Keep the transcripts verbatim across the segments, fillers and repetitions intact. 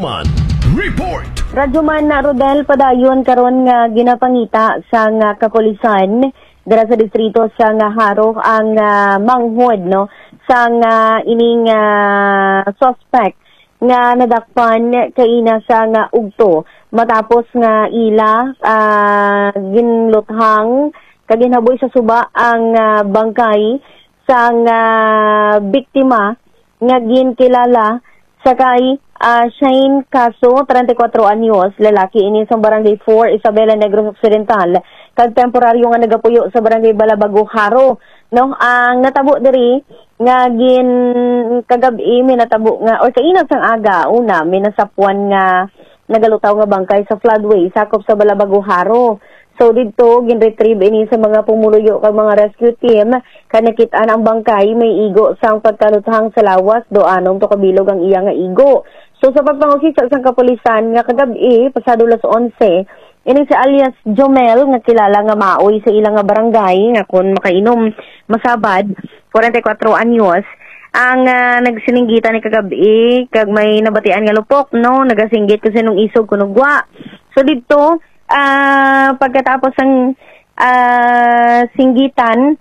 Report. Radyo Man Rodel, padayon karon nga ginapangita sang kapulisan dira sa distrito sang Jaro ang, ah, manghod, no, sang, ah, ining, ah, suspect nga nadakpan kaina sang ugto matapos nga ila, ah, ginluthang kag ginhaboy sa suba ang, ah, bangkay sang, ah, biktima nga ginkilala sa kay, ah, Shane Caso, treinta y cuatro anyos, lalaki ini sa Barangay four, Isabela, Negros Occidental, kag temporaryo nga nagapuyo sa Barangay Balabago, Jaro. No, ang natabo diri nga gin kagab-i may natabo nga, or kainag sang aga, una, may nasapwan nga nagalutaw nga bangkay sa floodway sakop sa Balabago, Jaro. So didto, ginretrieve ini sa mga pumuluyo kag mga rescue team, kag nakit-an ang bangkay may igo sang pagkaluthang sa lawas, do anom to kabilog ang iya nga igo. So sa pagpangusisa sang kapulisan nga kagab-i, pasado las onse, ini si alias Jomel nga kilala nga maoy sa ila nga barangay nga kon makainom masabad, forty-four anyos, ang, ah, nagsininggitan ni kagab-i kag may nabatian nga lupok, no, nagasinggit kung sinong isog kuno gwa. So didto, ah, pagkatapos sang, ah, singgitan,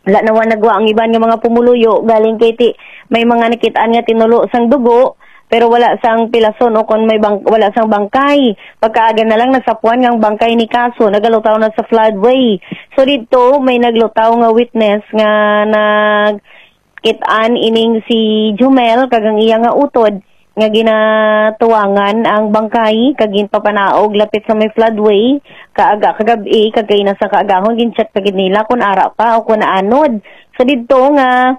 wala na wa nagwa ang iban nga mga pumuluyo, galing kay ti may mga nakit-an nga tinulo sang dugo, pero wala sang pilason o kon may bang-, wala sang bangkay. Pagkaaga na lang, nasapwan nga ang bangkay ni Caso nagalutaw na sa floodway. So didto, may naglutaw nga witness nga nag kit-an ining si Jomel kag ang iya nga utod nga ginatuwangan ang bangkay kag ginpapanaog lapit sa may floodway kaaga kagab-i, kag kaina sa kaagahon gin-check pa gid nila kon ara pa o kon naanod. So didto nga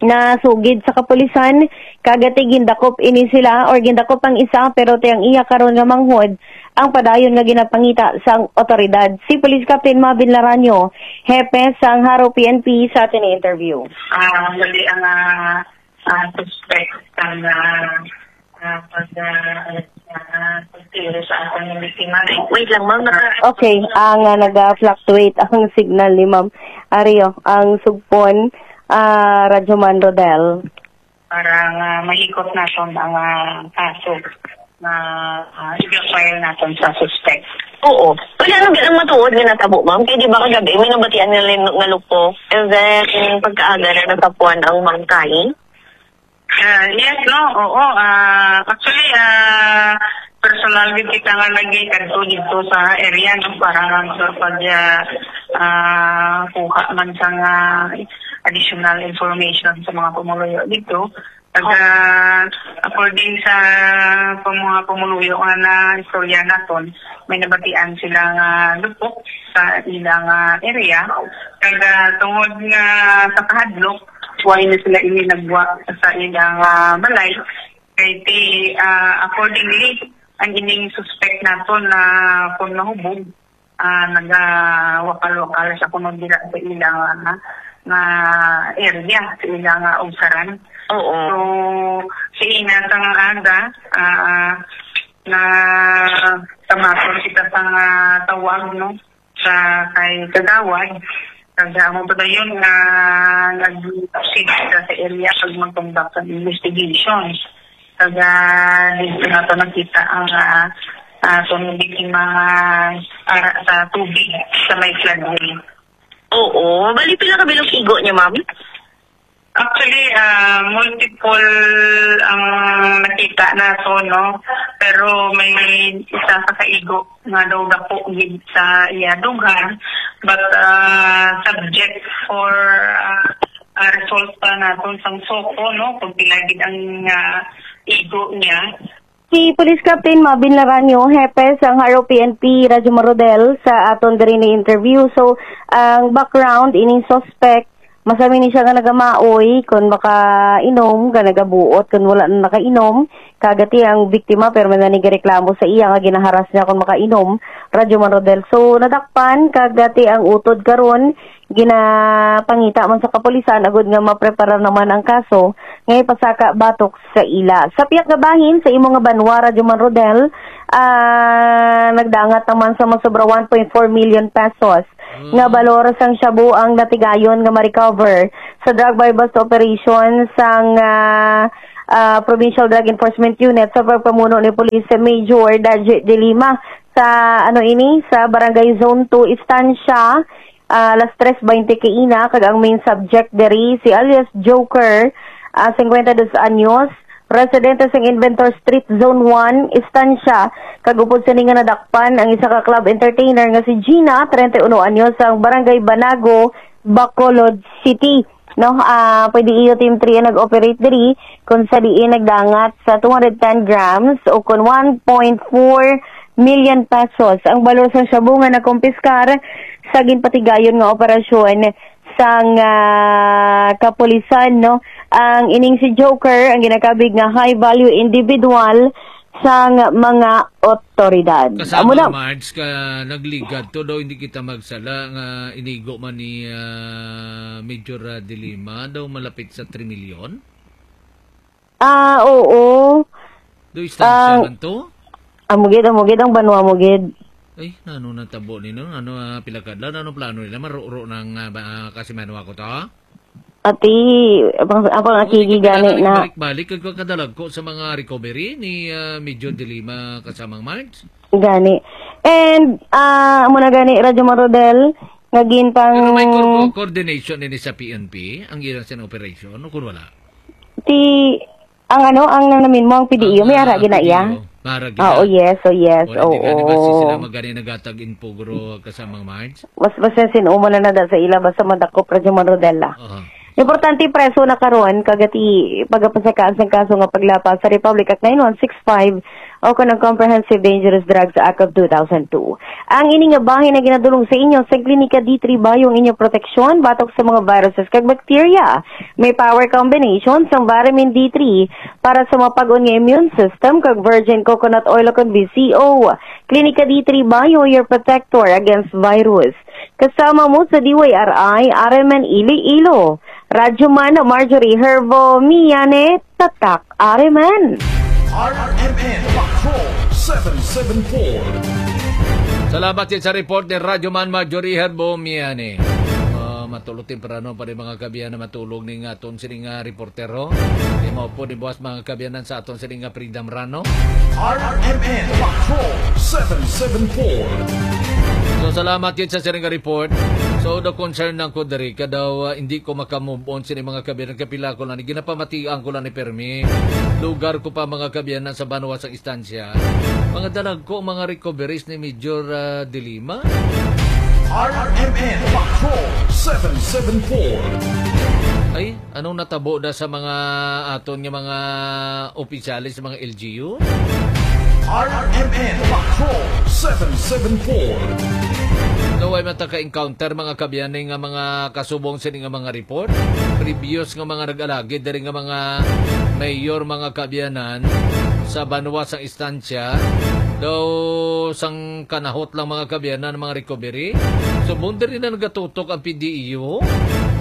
nasugid sa kapulisan, kag ati gindakop ini sila or gindakop ang isa, pero ti ang iya karon nga manghod ang padayon nga ginapangita sang otoridad. Si Police Captain Mavin Laranyo, hepe sang Jaro P N P, sa aton interview. Ah, dali ang, ah, ah, suspect ang, ah, ah, pag, ah, ah, pagtiro sa akong biktima. Wait lang, ma'am. Naka- Okay, ang, ah, naga-fluctuate ang signal ni Ma'am Ario, ang sugpon, ah, Radyo Man Rodel. Para nga mahikot naton ang, ah, kaso nga, ah, i-file naton sa suspect. Oo. Wala na ba ang matuod nga natabo, ma'am? Kay di ba kagabi, may nabatian nga lin-, nga lupok. And then, pagkaaga na natapuan ang bangkay? Ah, yes, no? Oo. Ah, actually, ah, personal gid kita nga nagkadto dito sa area, no? Para nga sa pag, ah, ah, kuha man sa nga additional information sa mga pumuluyo dito. Pag, ah, according sa pam-, mga pumuluyo nga na istorya naton, may nabatian sila nga lupok sa ilang, ah, area. Kag, ah, tungod nga sa kahadlok, way na sila ini nagwa sa ilang, ah, balay. Kay ti, ah, accordingly, ang ining suspect naton na kung nahubog, ah, nagawakal-wakal sa kuno dira sa ilang, ah, nga area, sa ilang, ah, ubsaran. Oo. So, sa ina sa nga aga, ah, na tamaton kita sa nga tawag, no, sa kay Kagawad. Kag amo pa dayon nga nag-proceed kita sa area pag mag-conduct ng investigations. Kag, ah, dito na to nakita ang, ah, ah, itong biktima nga ara sa tubig sa may floodway. Oo. Bali, pila ka bilog igo niya, ma'am? Actually, ah, multiple ang nakita nato, no? Pero may isa ka kaigo nga daw dako gid sa iya dughan, but, ah, subject for, ah, ah, result pa naton sang SOCO, no? Kung pila gid ang, ah, igo niya. Si Police Captain Mavin Laranyo, hepe sang Jaro P N P, Radyo Man Rodel, sa aton diri ni interview. So, ang background ining suspect, masami ni siya nga nagamaoy, kung makainom, nga nagabuot, kung wala na nakainom. Kag ati ang biktima, pero may nanigareklamo sa iya nga ginaharas niya kung makainom, Radyo Man Rodel. So, nadakpan, kag ati ang utod karon, ginapangita man sa kapulisan agud nga mapreparar naman ang kaso nga ipasaka batok sa ila. Sa pihak nga bahin sa imo nga banwa, Radyo Man Rodel, ah, nagdangat naman sa masobra one point four million pesos nga balor sang shabu ang natigayon nga ma-recover sa drug buy-bust operation sang, ah, ah, Provincial Drug Enforcement Unit sa pagpamuno ni Police Major Daji de Lima sa, ano ini, sa Barangay Zone two Estancia, ah, alas tres baynte kaina, kag ang main subject diri si alias Joker, ah, cincuenta y dos anyos, residente sa Inventor Street, Zone one, Estancia, kag upod sini nga nadakpan ang isa ka club entertainer nga si Gina, treinta y uno anyos, sa Barangay Banago, Bacolod City. No, ah, pwede iyo Team three ang nag-operate diri, kung sa diin nagdangat sa two hundred ten grams o kon one point four million pesos ang balor sang shabu nga nakumpiskar sa ginpatigayon nga operasyon sang, ah, kapulisan, no? Ang ining si Joker ang ginakabig nga high value individual sang mga otoridad. Kasama, Amo na. Marge, ka nagligad to daw, hindi kita magsala nga inigo man ni, ah, Major, ah, Dilima daw malapit sa three million. Ah, oo. Do istansya Ah, man to? Amo gid, amo gid ang banwa mo gid. Ay, nano natabo ni no? Ano, ah, pila kadlaw? Ano plano nila? Maruro ng, ah, ba, ah, kasi manwa ko to? Ati, abang, abang Hindi akigi ka gani kailangan na. Balik-balik kag kadalagko sa mga recovery ni, ah, Major Dilima kasamang Marge? Gani. And, ah, amo na gani, Radyo Marodel, nga gintang Pero may co-, coordination ini sa P N P, ang ilang sin operation, o kung wala? Ti, ang ano, ang nang namin mo, ang P D E U, may Ang, ara ah, gina iya? P D E U, mara gina. Ah, oh, yes, oh, yes, Wala, oo. Di gani ba si sila magani nagatag info, guro, kasamang Marge? Mas, mas yan sin-o mo na nada sa ila, basta madakop ra dyan, Rodela. Aha. Importante, preso na karon, kagati, pagapasakaan sang kaso nga paglapas sa Republic Act nine one six five o kon ang Comprehensive Dangerous Drugs Act of two thousand two. Ang ini nga bahin ang ginadulong sa inyo sa Klinika D three Bayo ang inyong proteksyon batok sa mga viruses kag bakterya. May power combination sang Vitamin D three para sa mapag-on nga immune system kag virgin coconut oil o kon V C O. Klinika D three Bayo, your protector against virus. Kasama mo sa D Y R I, R M N Iloilo. Radyo Man, Marjorie Herbo, Miane, Tatak, R M N. R M N Patrol seven seven four. Salamat gid sa report ni Radyo Man Marjorie Herbo Miani. Ah, matulog temprano pa rin mga kabiyan na matulog ni nga aton sini nga reportero. Di mao po ni buwas mga kabiyanan sa aton sini nga Freedom Run, no? R M N Patrol seven seven four. So, salamat gid sa sini nga report. So, the concern lang ko diri ka daw, ah, hindi ko makamove on sini mga kabiyanan. Kapila ko lang, ginapamatian ko lang ni Permi. Lugar ko pa mga kabiyanan sa banwa sa istansya. Mga dalag ko, mga recoveries ni Major, ah, Dilima. R M N Patrol seven seven four. Ay, anong natabo da sa mga aton nga mga opisyales sa mga L G U? R M N Patrol seven seven four. Naway man ta ka-encounter mga kabiyan nga mga kasubong sini nga mga report. Previous nga mga nag-alagid diri nga mga mayor, mga kabiyanan sa banwa sang istansya daw sang kanahot lang mga kabiyanan mga recovery. Subong diri na nagatutok ang P D E U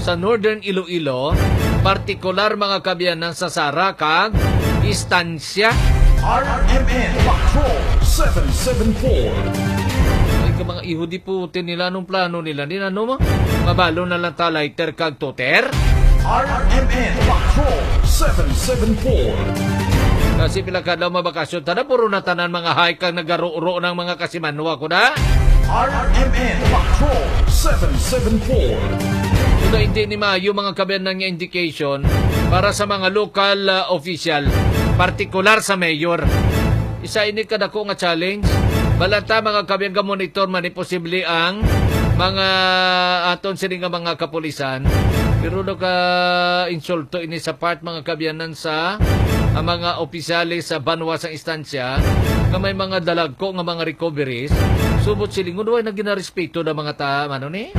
sa Northern Iloilo, partikular mga kabiyanan sa Sara kag Istansya. R M N Patrol seven seven four. Ay, ka mga iho, di puti nila, anong plano nila? Di na, no, ma-, mabalo na lang ta lighter kag toter? R M N Patrol seven seven four. Kasi pila kadlaw mabakasyon, tada puro na tanan mga hike ang nagaro-ro ng mga kasimanwa ko na. R M N Patrol seven seven four. Kuda hindi ni maayo mga kabiyanan nga indication para sa mga local, ah, official, partikular sa mayor. Isa ini kadako nga challenge. Balanta mga kabiyan, ga-monitor man ni posible ang mga aton sini nga mga kapulisan. Pero naka insulto ini sa part mga kabiyanan sa ang mga opisyales sa banwa sa istansya nga may mga dalagko nga mga recoveries. Subot silingon, way na ginarespeto na mga ta-, ano ni?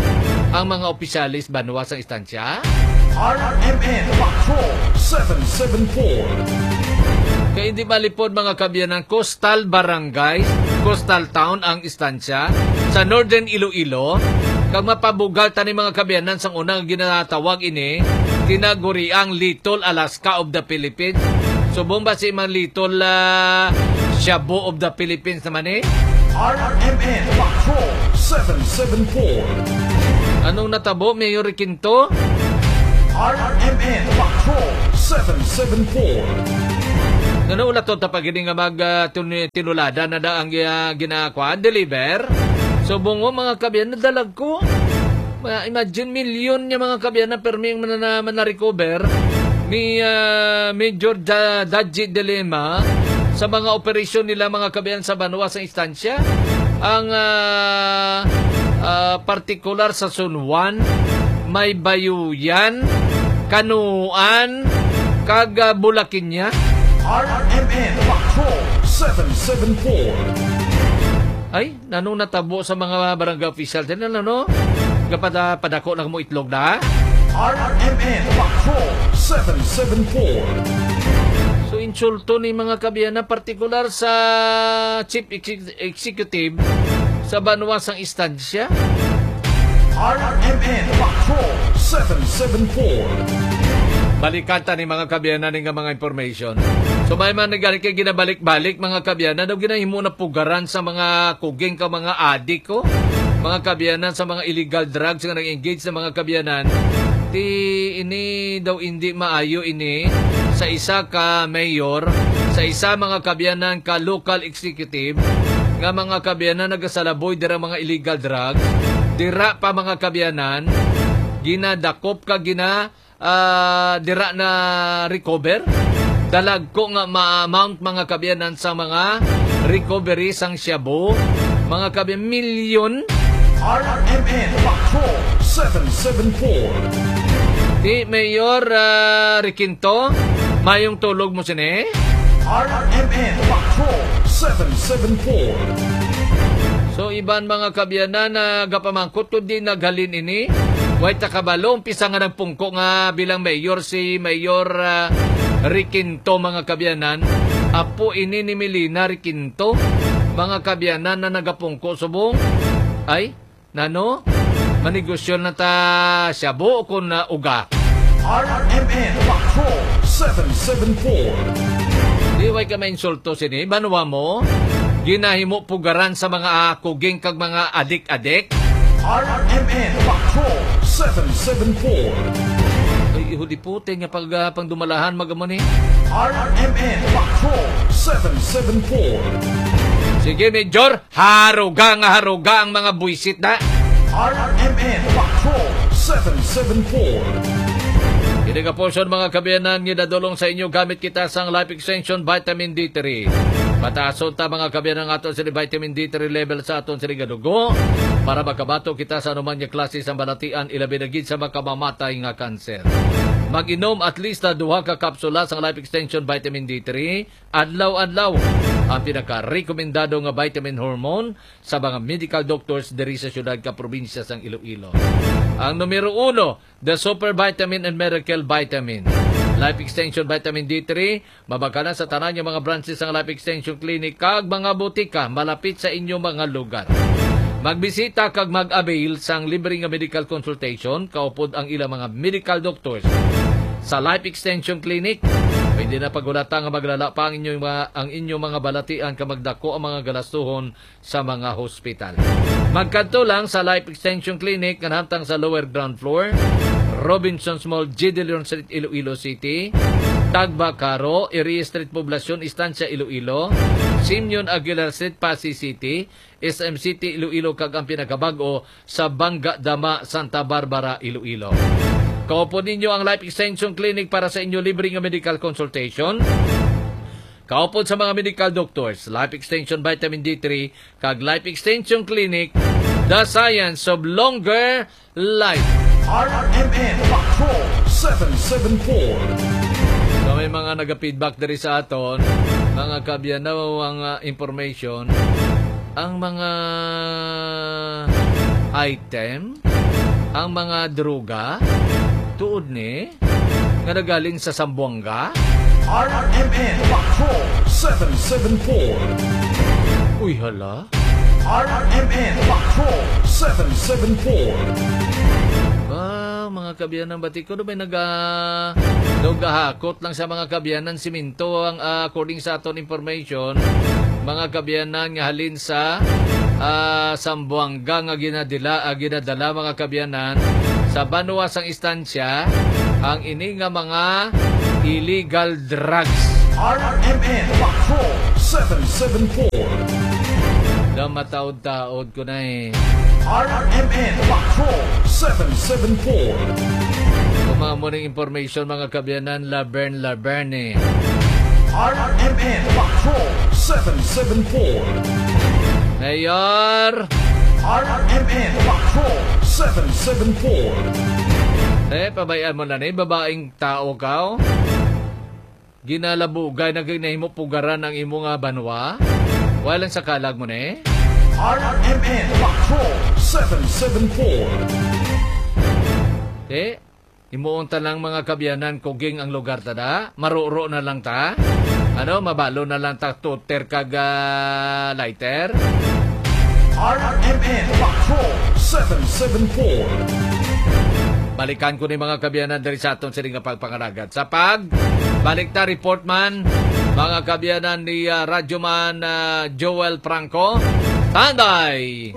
Ang mga opisyales banwa sa istansya. R M N Patrol seven seven four. Kay hindi malipod mga kabiyanan, coastal barangay, coastal town ang istansya sa Northern Iloilo. Kag mapabugal tani mga kabiyanan sang una nga ginatawag ini, tinaguriang Little Alaska of the Philippines. Subong ba si man Little, ah, Shabu of the Philippines naman eh? R M N Patrol seven seven four. Anong natabo, Mayor Requinto? R M N Patrol seven seven four. Ano, wala to tapagini nga mag, ah, tun-, tinulada na da ang, ah, ginakuan, deliver. So, bungo, mga kabiyan, nadalag ko. Ma-, imagine, milyon niya, mga kabiyan, na permi ang mana-, mana-recover ni, ah, Major Da-, Daji Dilema sa mga operasyon nila, mga kabiyan, sa banwa sa istansya. Ang, ah, ah, partikular sa San Juan, may Bayuyan, Kanuan, kag, ah, Bulakinya. R M N Patrol seven seven four. Ay, nanong natabo sa mga barangay official din, ano, no? Kapada, padako na mo itlog na. R M N Patrol seven seven four. So, insulto ni, mga kabiyan, na partikular sa chief exec-, executive sa banwa sang istansya. R M N Patrol seven seven four. Balikan ta ni, mga kabiyanan, ni nga mga information. So, may man nagani kay ginabalik-balik, mga kabiyanan, daw ginahimo na pugaran sa mga kuging ka mga adik, oh. Mga kabiyanan, sa mga illegal drugs nga nag-engage sa mga kabiyanan. Ti ini daw hindi maayo ini sa isa ka mayor, sa isa, mga kabiyanan, ka local executive, nga, mga kabiyanan, nagasalaboy dira mga illegal drugs. Dira pa, mga kabiyanan, ginadakop ka gina, ah, dira na recover. Dalagko nga ma-amount, mga kabiyanan, sa mga recovery sang shabu, mga kabiyan, milyon. R M N Patrol seven seven four. Ti Mayor, ah, Requinto, mayong tulog mo sini. R M N Patrol seven seven four. So, iban, mga kabiyanan, na gapamangkot kung di naghalin ini. Way ta kabalo, umpisa nga nagpungko nga bilang mayor si Mayor, ah, Requinto, mga kabiyanan. Apo ini ni Melina Requinto, mga kabiyanan, na nagapungko subong. Ay, nano? Manegosyo na ta shabu o kon, ah, uga? R M N Patrol seven seven four. Di way ka mainsulto sini, banwa mo? Ginahimo pugaran sa mga, ah, kuging kag mga adik-adik? R M N Patrol seven seven four. Ay, ihudi puti nga pag, ah, pangdumalahan, magamo ni. R M N Patrol seven seven four. Sige, Major. Haruga nga haruga ang mga buwisit na. R M N Patrol seven seven four. Kini nga portion, mga kabiyanan, nga dadulong sa inyo gamit kita sang Life Extension Vitamin D three. Pataason ta, mga kabiyanan, ang aton sini vitamin D three level sa aton sini nga dugo para makabato kita sa anuman nga klase sang balatian, ilabi na gid sa makamamatay nga kanser. Mag-inom at least na duha ka kapsula sang Life Extension Vitamin D three adlaw-adlaw, ang pinakarekomendado nga vitamin hormone sa mga medical doctors diri sa siyudad kag probinsya sang Iloilo. Ang numero uno, the Super Vitamin and Miracle Vitamin. Life Extension Vitamin D three, mabakal na sa tanan nga mga branches sang Life Extension Clinic kag mga botika malapit sa inyo mga lugar. Magbisita kag mag-avail sang libre nga medical consultation kaupod ang ilang mga medical doctors sa Life Extension Clinic. Pwede na paghulata nga maglala pa ang inyong mga, ang inyong mga balatian kag magdako ang mga galastuhon sa mga hospital. Magkadto lang sa Life Extension Clinic nga nahamtang sa lower ground floor, Robinsons Mall, G D Leon Street, Iloilo City, Tagbacaro, Erie Street, Poblacion, Estancia, Iloilo, Simeon Aguilar Street, Passi City, S M City, Iloilo, kag ang pinakabag-o sa Bangga Dama, Santa Barbara, Iloilo. Kaupod ninyo ang Life Extension Clinic para sa inyo libre nga medical consultation. Kaupod sa mga medical doctors, Life Extension Vitamin D three, kag Life Extension Clinic, the science of longer life. R M N Patrol seven seven four. So, may mga naga-feedback diri sa aton, mga kabiyan, ang, ah, information, ang mga item, ang mga droga, tuod ni, nga nagaling sa Zamboanga? R M N Patrol seven seven four. Uy, hala. R M N Patrol seven seven four. Ah, mga kabiyanan, bati ko, may naga-, nagahakot lang sa mga kabiyanan, siminto ang, ah, according sa aton information, mga kabiyanan nga halin sa, ah, Zamboanga nga ginadila, ah, ginadala, mga kabiyanan, sa banwa sang istansya, ang ini nga mga illegal drugs. R M N Patrol seven seven four. Namataod-taod ko na eh. R M N Patrol seven seven four. Kung mga morning information, mga kaabyanan, Laverne, Laverne eh. R M N Patrol seven seven four. Mayor! R M N Patrol seven seven four. Eh, pabayaan mo na ni, babaeng tao ka, oh. Ginalabugay na ginahimo pugaran ang imo nga banwa. Wala lang sa kalag mo ni. R M N Patrol seven seven four. Eh, himuon ta lang, mga kaabyanan, kuging ang lugar ta da. Maruro na lang ta. Ano, mabalo na lang ta, toter kag, ah, lighter. R M N Patrol seven seven four. Balikan ko ni, mga kaabyanan, diri sa aton sini nga pagpangalagad. Sa pag balik ta, report man, mga kaabyanan ni, ah, Radyo Man, ah, Joel Franco. Tanday!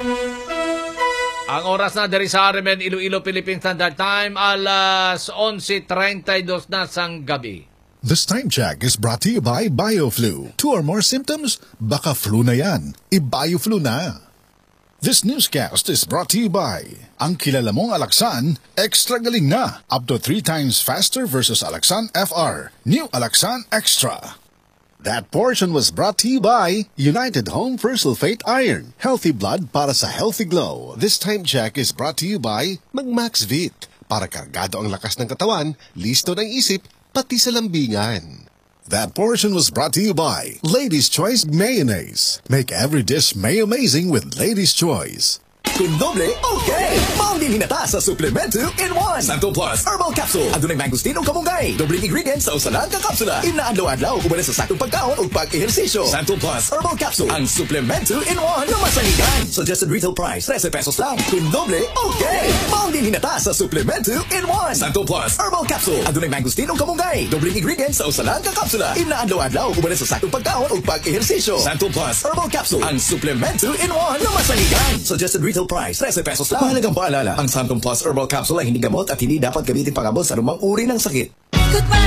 Ang oras na diri sa R M N Iloilo Philippine Standard Time, alas onse treinta y dos na sang gabi. This time check is brought to you by BioFlu. Two or more symptoms? Baka flu na yan. I-BioFlu na. This newscast is brought to you by ang kilala mong Alaxan, extra galing na. Up to three times faster versus Alaxan F R. New Alaxan Extra. That portion was brought to you by United Home First Sulfate Iron. Healthy blood para sa healthy glow. This time check is brought to you by Mag Maxvit. Para kargado ang lakas ng katawan, listo ng isip, pati sa lambingan. That portion was brought to you by Ladies Choice Mayonnaise. Make every dish may amazing with Ladies Choice. Kung doble, okay! Maong din hinata sa Suplemento in one. Santo Plus Herbal Capsule. Adunay mangosteen ug kamunggay. Dobleng ingredients sa usa lang ka kapsula. Inadlaw-adlaw, uban sa saktong pagkaon ug pag-ehersisyo. Santo Plus Herbal Capsule, ang suplemento in one na masaligan. Suggested retail price, trese pesos lang. Kung doble, okay! Maong din hinata sa Suplemento in one. Santo Plus Herbal Capsule. Adunay mangosteen ug kamunggay. Dobleng ingredients sa usa lang ka kapsula. Inadlaw-adlaw, uban sa saktong pagkaon ug pag-ehersisyo. Santo Plus Herbal Capsule, ang suplemento in one na masaligan. Suggested retail price, trese pesos lang. Mahalagang paalala, ang Santo Plus Herbal Capsule ay hindi gamot at hindi dapat gamitin pang-abot sa anumang uri ng sakit.